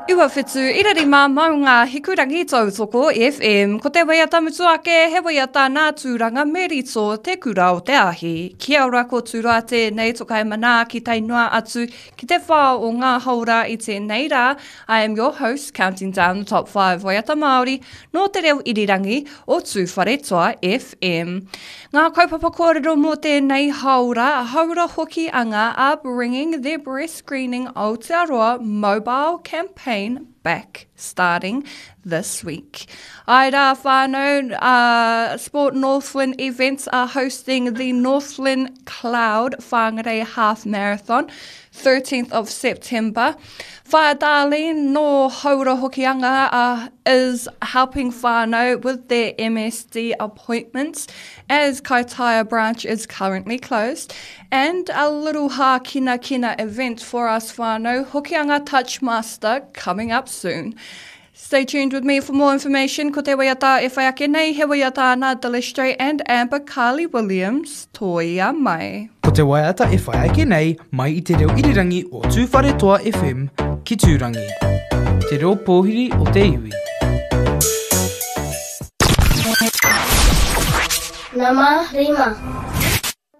97.5 Maunga Hikurangi Tautoko FM. Ko te waiata mutu ake, he waiata nā Tūranga Merito, Te Kura o Te Ahi. Kia ora ko Tūroa tēnei tokai manaaki tae noa atu ki te whā o ngā haora i tēnei rā. I am your host, counting down the top 5 waiata Māori nō te reo irirangi o Tūwharetoa FM. Ngā kaupapa kōrero mō tēnei haora, haora hoki anga are bringing their breast screening Aotearoa mobile campaign back starting this week. Ai rā whānau, uh, Sport Northland events are hosting the Northland Cloud Whangarei Half Marathon 13th of September. Whaea Darlene nō Haura Hokianga uh, is helping whānau with their MSD appointments as Kaitaia branch is currently closed. And a little hākina kina event for us whānau, Hokianga Touchmaster coming up soon. Stay tuned with me for more information. Ko te waiata e whai ake nei, he waiata nā Delestray and Amber Carly Williams, Tōia Mai. Ko te waiata e whai ake nei mai i te reo irirangi o Tūwharetoa FM ki Tūrangi. Te reo pōhiri o te iwi. Nama rima.